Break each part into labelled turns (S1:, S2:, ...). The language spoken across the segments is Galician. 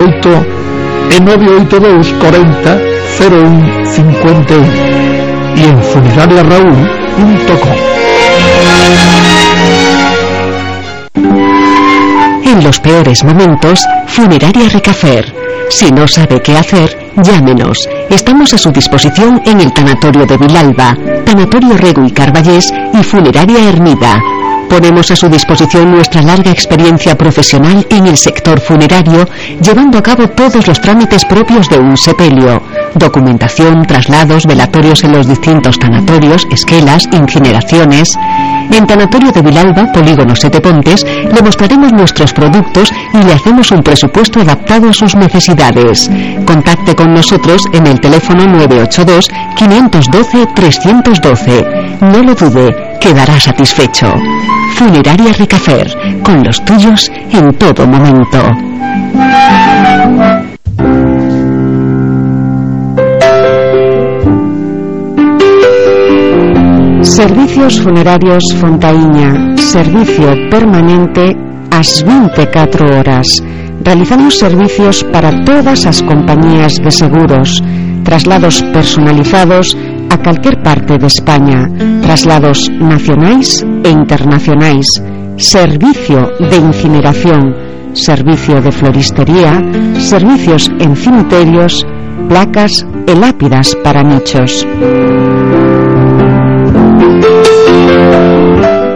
S1: 8 e 982 40 01 51 y en funerariaraúl.com.
S2: En los peores momentos, Funeraria Ricafer. Si no sabe qué hacer, llámenos. Estamos a su disposición en el Tanatorio de Vilalba, Tanatorio Rego y Carballés y Funeraria Hermida. Ponemos a su disposición nuestra larga experiencia profesional en el sector funerario, llevando a cabo todos los trámites propios de un sepelio: documentación, traslados, velatorios en los distintos tanatorios, esquelas, incineraciones. En Tanatorio de Vilalba, Polígono Sete Pontes, le mostraremos nuestros productos y le hacemos un presupuesto adaptado a sus necesidades. Contacte con nosotros en el teléfono 982 512 312. No lo dude, quedará satisfecho. Funeraria Ricafer, con los tuyos en todo momento. Servicios Funerarios Fontaíña, servicio permanente ás 24 horas. Realizamos servicios para todas as compañías de seguros, traslados personalizados a calquer parte de España, traslados nacionais e internacionais, servicio de incineración, servicio de floristería, servicios en cemiterios, placas e lápidas para nichos.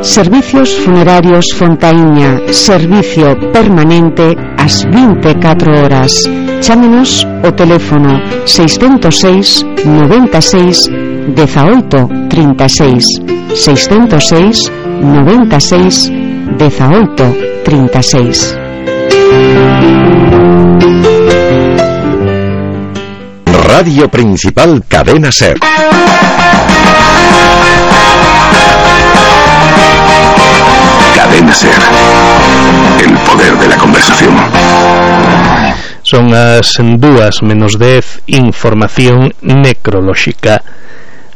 S2: Servicios Funerarios Fontaíña, servicio permanente ás 24 horas. Chámenos o teléfono 606 96 18 36, 606 96 18 36.
S3: Radio Principal Cadena SER. Cadena SER. El poder de la conversación.
S4: Son as 2:10, información necrolóxica.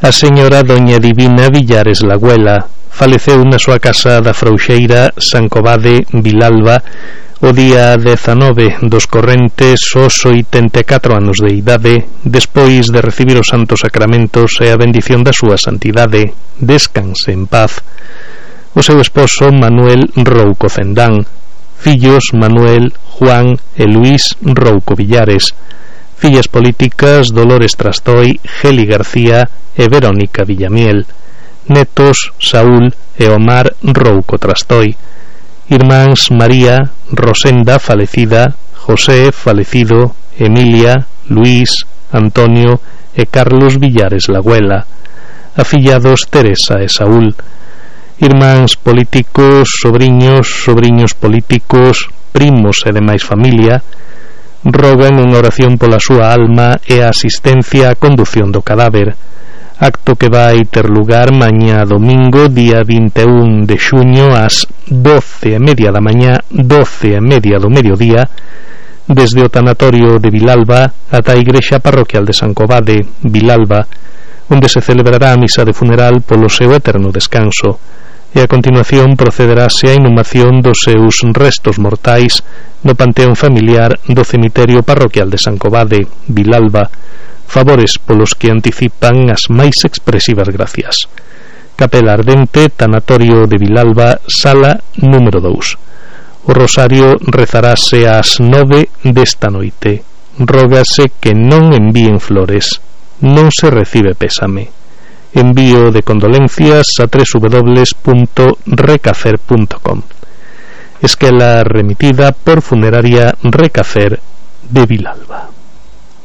S4: A señora Doña Divina Villares Lagüela faleceu na súa casa da Frouxeira, San Covade, Vilalba, o día 19 dos correntes aos 84 anos de idade, despois de recibir os santos sacramentos e a bendición da súa santidade. Descanse en paz. O seu esposo Manuel Rouco Cendán, fillos Manuel, Juan e Luís Rouco Villares, fillas políticas Dolores Trastoi, Geli García e Verónica Villamiel, netos Saúl e Omar Rouco Trastoi, irmáns María, Rosenda falecida, José falecido, Emilia, Luís, Antonio e Carlos Villares Lagüela, afillados Teresa e Saúl, irmáns políticos, sobriños políticos, primos e demais familia, rogan unha oración pola súa alma e a asistencia á condución do cadáver, acto que vai ter lugar mañá domingo, día 21 de xuño, ás 12:30 da mañá, 12:30 do mediodía, desde o tanatorio de Vilalba ata a igrexa parroquial de San Covade, Vilalba, onde se celebrará a misa de funeral polo seu eterno descanso, e a continuación procederase a inhumación dos seus restos mortais no panteón familiar do cemiterio parroquial de San Covade, Vilalba, favores polos que anticipan as máis expresivas gracias. Capela Ardente, Tanatorio de Vilalba, sala número 2. O rosario rezarase ás 9 desta noite. Rógase que non envíen flores, non se recibe pésame. Envío de condolencias a www.recafer.com. Esquela remitida por Funeraria Ricafer de Vilalba.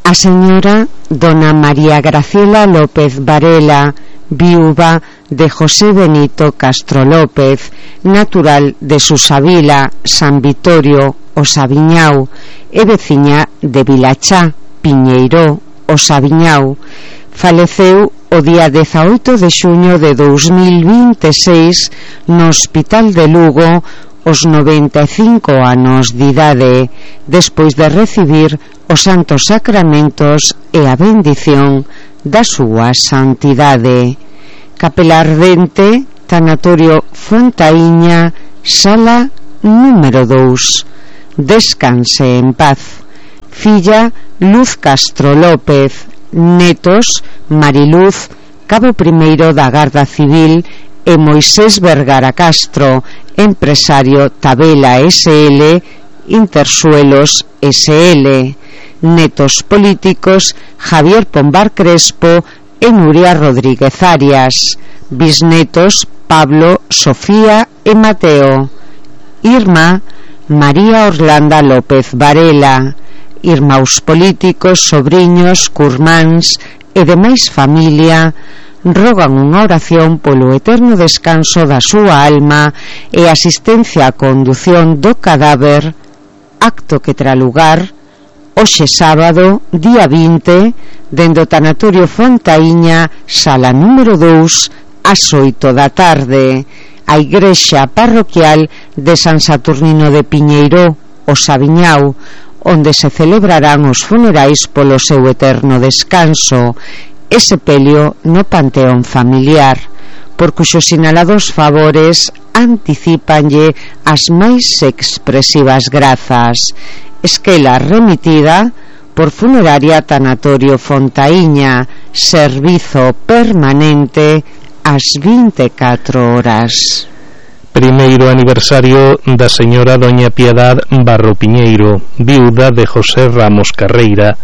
S2: A señora Dona María Graciela López Varela, viúva de José Benito Castro López, natural de Susavila, San Vitorio, o Sabiñao, e veciña de Vilachá, Piñeiró, o Sabiñao, faleceu o día 18 de xuño de 2026 no Hospital de Lugo aos 95 anos de idade, despois de recibir os santos sacramentos e a bendición da súa santidade. Capela Ardente, Tanatorio Fontaíña, sala número 2. Descanse en paz.
S5: filla Luz Castro López, netos Mariluz, cabo primeiro da Garda Civil, e Moisés Vergara Castro, empresario Tabela SL, Intersuelos SL, netos políticos Javier Pombar Crespo e Nuria Rodríguez Arias, bisnetos Pablo, Sofía e Mateo, Irma María Orlanda López Varela, irmãos políticos, sobriños, curmáns e demais familia rogan unha oración polo eterno descanso da súa alma e asistencia á condución do cadáver, acto que terá lugar hoxe sábado, día 20, dende o tanatorio Fontaíña, sala número 2, ás 8 da tarde, a igrexa parroquial de San Saturnino de Piñeiro, o Sabiñao, onde se celebrarán os funerais polo seu eterno descanso e sepelio no panteón familiar, por cuxos sinalados favores anticipanlle as máis expresivas grazas. Esquela remitida por Funeraria Tanatorio Fontaíña, servizo permanente ás 24 horas.
S4: Primeiro aniversario da señora doña Piedad Barro Piñeiro, viuda de José Ramos Carreira,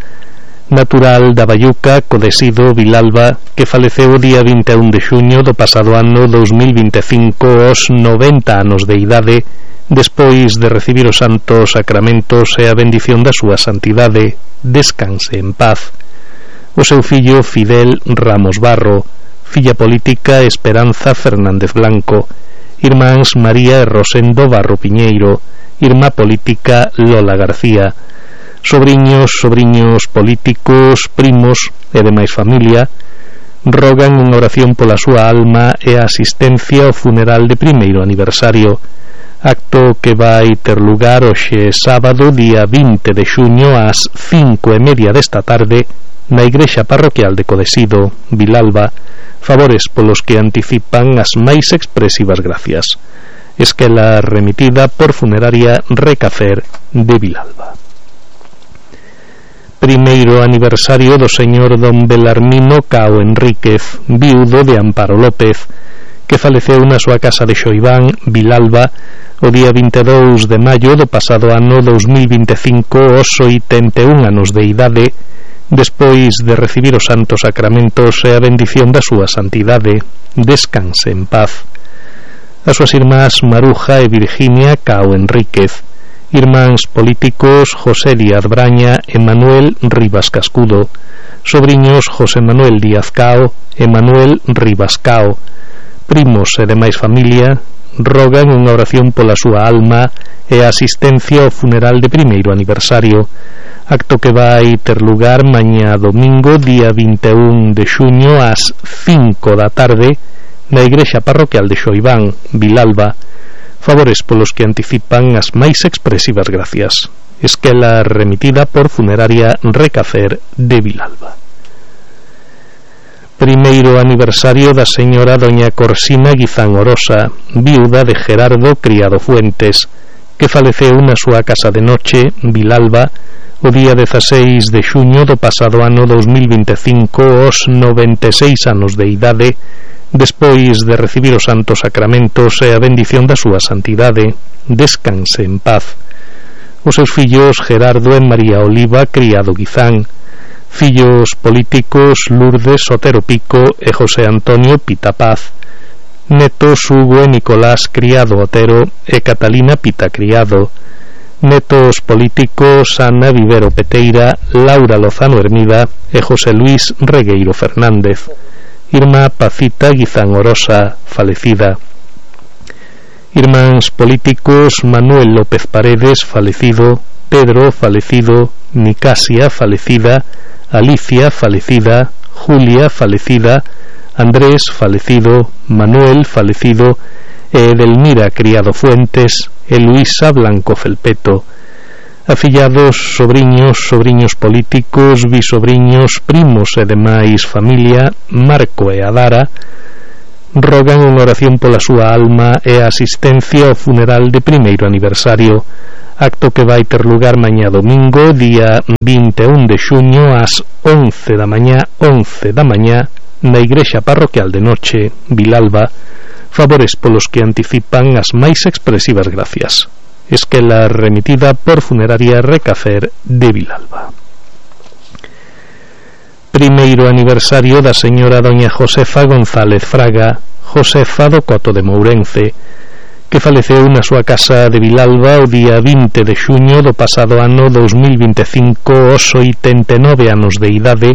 S4: natural da Bayuca, Codesido, Vilalba, que faleceu o día 21 de xuño do pasado ano 2025 aos 90 anos de idade, despois de recibir os santos sacramentos e a bendición da súa santidade. Descanse en paz. O seu fillo Fidel Ramos Barro, filla política Esperanza Fernández Blanco, irmáns María e Rosendo Barro Piñeiro, irmá política Lola García, sobriños políticos, primos e demais familia rogan unha oración pola súa alma e a asistencia ao funeral de primeiro aniversario, acto que vai ter lugar hoxe sábado, día 20 de xuño ás 5:30 desta tarde na igrexa parroquial de Codesido, Vilalba, favores polos que anticipan as máis expresivas gracias. Esquela remitida por Funeraria Recafer de Vilalba. Primeiro aniversario do señor don Belarmino Cao Enríquez, viudo de Amparo López, que faleceu na súa casa de Xoiván, Vilalba, o día 22 de maio do pasado ano 2025 aos 81 anos de idade, despois de recibir os santos sacramentos e a bendición da súa santidade. Descanse en paz. As súas irmás Maruja e Virginia Cao Enríquez, irmáns políticos José Díaz Braña e Manuel Rivas Cascudo, sobriños José Manuel Díaz Cao e Manuel Rivas Cao, primos e demais familia rogan unha oración pola súa alma e a asistencia ao funeral de primeiro aniversario, acto que vai ter lugar mañá domingo, día 21 de xuño ás 5 da tarde na igrexa parroquial de Xoiván, Vilalba, favores polos que anticipan as máis expresivas gracias. Esquela remitida por Funeraria Recafer de Vilalba. Primeiro aniversario da señora doña Corsina Guizán Orosa, viuda de Gerardo Criado Fuentes, que faleceu na súa casa de noche, Vilalba, o día 16 de xuño do pasado ano 2025 aos 96 anos de idade, despois de recibir os santos sacramentos e a bendición da súa santidade. Descanse en paz. Os seus fillos Gerardo e María Oliva Criado Guizán, fillos políticos Lourdes Sotero Pico e José Antonio Pita Paz, netos Hugo e Nicolás Criado Otero e Catalina Pita Criado, netos políticos Ana Vivero Peteira, Laura Lozano Hermida e José Luis Regueiro Fernández, irmá Pacita Guizán Orosa, falecida, irmáns políticos Manuel López Paredes, falecido, Pedro, falecido, Nicasia, falecida, Alicia, falecida, Julia, falecida, Andrés, falecido, Manuel, falecido, e Edelmira Criado Fuentes e Luisa Blanco Felpeto, afillados, sobriños políticos, bisobriños, primos e demais familia, Marco e Adara, rogan unha oración pola súa alma e a asistencia ao funeral de primeiro aniversario, acto que vai ter lugar mañá domingo, día 21 de xuño, ás 11 da mañá, na igrexa parroquial de Noche, Vilalba, favores polos que anticipan as máis expresivas gracias. Esquela remitida por Funeraria Recafer de Vilalba. Primeiro aniversario da señora doña Josefa González Fraga, Josefa do Coto de Mourense, que faleceu na súa casa de Vilalba o día 20 de xuño do pasado ano 2025 aos 89 anos de idade,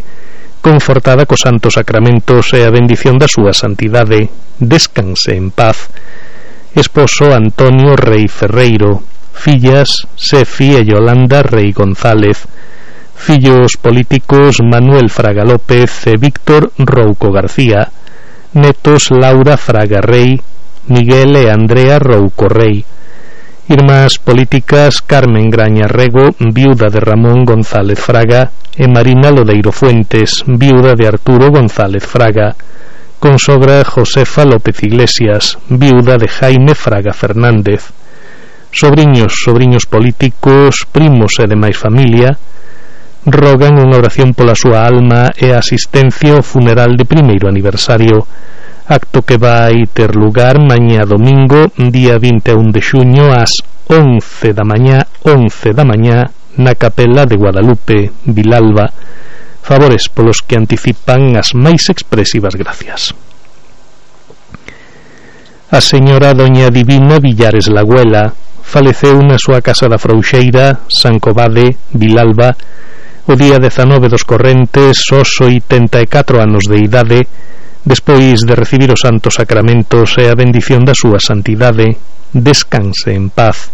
S4: confortada cos santos sacramentos e a bendición da súa santidade. Descanse en paz. Esposo Antonio Rei Ferreiro, fillas Sefi e Yolanda Rei González, fillos políticos Manuel Fraga López e Víctor Rouco García, netos Laura Fraga Rei, Miguel e Andrea Rouco Rei, irmás políticas Carmen Graña Rego, viuda de Ramón González Fraga, e Marina Lodeiro Fuentes, viuda de Arturo González Fraga, consogra Josefa López Iglesias, viuda de Jaime Fraga Fernández, sobriños políticos, primos e demais familia, rogan unha oración pola súa alma e a asistencia ao funeral de primeiro aniversario, acto que vai ter lugar mañá domingo, día 21 de xuño, ás 11 da mañá, na capela de Guadalupe, Vilalba, favores polos que anticipan as máis expresivas gracias. A señora doña Divina Villares Lagüela faleceu na súa casa da Frouxeira, San Covade, Vilalba, o día 19 dos correntes aos 84 anos de idade, despois de recibir os santos sacramentos e a bendición da súa santidade. Descanse en paz.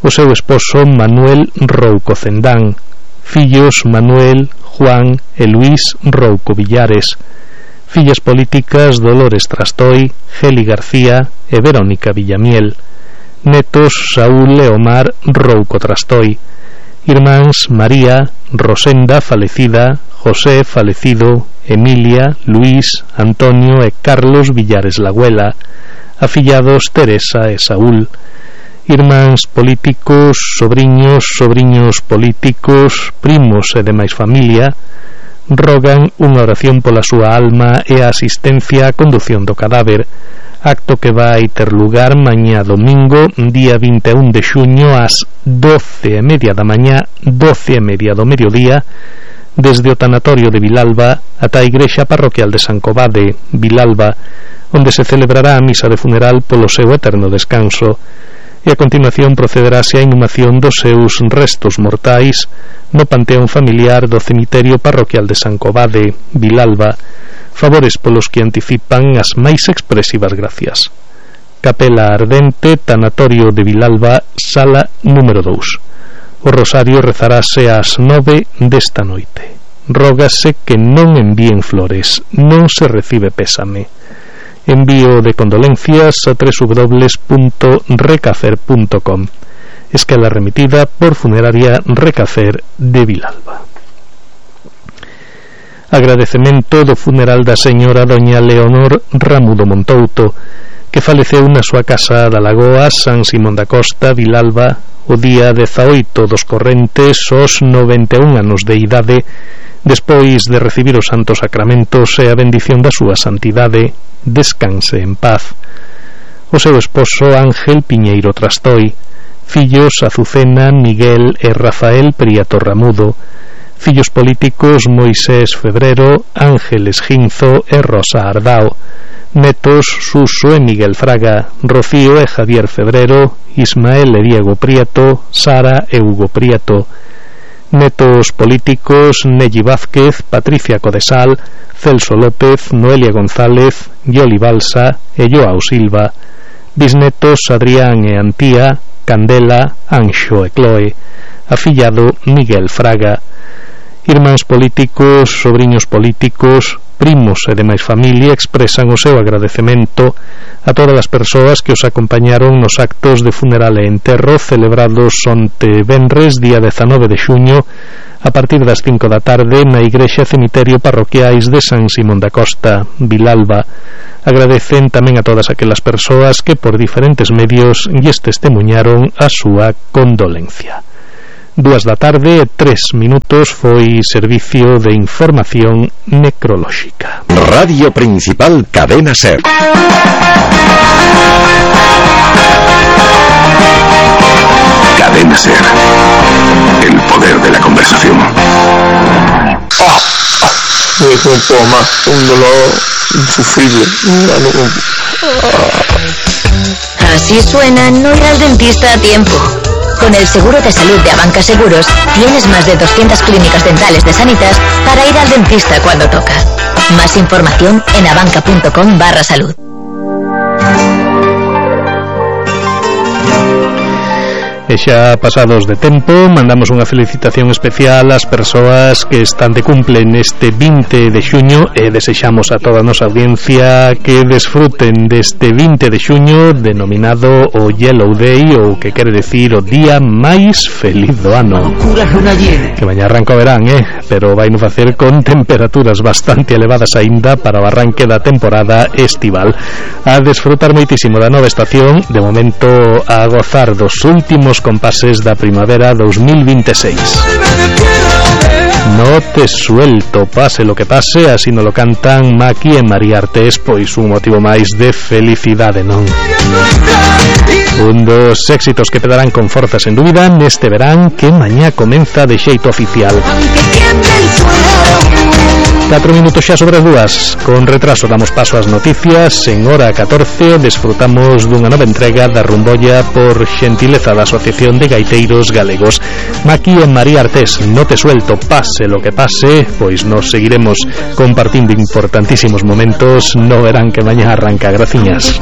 S4: O seu esposo Manuel Rouco Cendán, fillos Manuel, Juan e Luís Rouco Villares, fillas políticas Dolores Trastoi, Geli García e Verónica Villamiel, netos Saúl e Omar Rouco Trastoi, irmáns María, Rosenda falecida, José falecido, Emilia, Luís, Antonio e Carlos Villares Lagüela, afillados Teresa e Saúl, irmáns políticos, sobriños políticos, primos e demais familia, rogan unha oración pola súa alma e a asistencia á condución do cadáver, acto que vai ter lugar mañá domingo, día 21 de xuño, ás 12:30 da mañá, 12:30 do mediodía, desde o tanatorio de Vilalba ata a igrexa parroquial de San Covade, Vilalba, onde se celebrará a misa de funeral polo seu eterno descanso, e a continuación procederase a inhumación dos seus restos mortais no panteón familiar do cemiterio parroquial de San Covade, Vilalba, favores polos que anticipan as máis expresivas gracias. Capela Ardente, tanatorio de Vilalba, sala número 2. O rosario rezarase ás 9 desta noite. Rógase que non envíen flores, non se recibe pésame. Envío de condolencias a www.recafer.com. Esquela remitida por Funeraria Recafer de Vilalba. Agradecemento do funeral da señora doña Leonor Ramudo Montouto, que faleceu na súa casa da Lagoa, San Simón da Costa, Vilalba, o día 18 dos correntes aos 91 anos de idade, despois de recibir os santos sacramentos e a bendición da súa santidade. Descanse en paz. O seu esposo Ángel Piñeiro Trastoi, fillos Azucena, Miguel e Rafael Prieto Ramudo, fillos políticos Moisés Febrero, Ángeles Ginzo e Rosa Ardao, netos Suso e Miguel Fraga, Rocío e Javier Febrero, Ismael e Diego Prieto, Sara e Hugo Prieto, netos políticos Nelly Vázquez, Patricia Codesal, Celso López, Noelia González, Yoli Balsa e Joao Silva, bisnetos Adrián e Antía, Candela, Anxo e Chloe, afillado Miguel Fraga, irmáns políticos, sobriños políticos, primos e demais familia expresan o seu agradecemento a todas as persoas que os acompañaron nos actos de funeral e enterro celebrados onte venres, día 19 de xuño, a partir das 5 da tarde na igrexa cemiterio parroquiais de San Simón da Costa, Vilalba, Agradecen tamén a todas aquelas persoas que por diferentes medios lles testemunharon a súa condolencia. 2 da tarde, 3 minutos, foi servicio de información necrolóxica.
S3: Radio Principal Cadena SER. Cadena SER. El poder de la conversación.
S6: No puedo más, un dolor insufrible.
S7: Así suena no ir al dentista a tiempo. Con el seguro de salud de Abanca Seguros, tienes más de 200 clínicas dentales de Sanitas para ir al dentista cuando toca. Más información en abanca.com/salud.
S4: E xa pasados de tempo, mandamos unha felicitación especial ás persoas que están de cumple neste 20 de xuño e desexamos a toda a nosa audiencia que desfruten deste 20 de xuño denominado o Yellow Day, ou que quere decir o día máis feliz do ano. Que mañá arranca o verán, pero vai no facer con temperaturas bastante elevadas aínda para o arranque da temporada estival. A desfrutar moitísimo da nova estación, de momento a gozar dos últimos compases da primavera 2026. No te suelto, pase lo que pase, así no lo cantan Maki e María Artés, pois un motivo máis de felicidade, non? Un dos éxitos que pedarán con forza sen dúbida neste verán que mañá comeza de xeito oficial. 4 minutos xa sobre as 2. Con retraso damos paso ás noticias. En hora 14 desfrutamos dunha nova entrega da rumbolla por xentileza da Asociación de Gaiteiros Galegos. Maki e María Artés, no te suelto, pase lo que pase, pois nos seguiremos compartindo importantísimos momentos no verán que mañá arranca. Graciñas.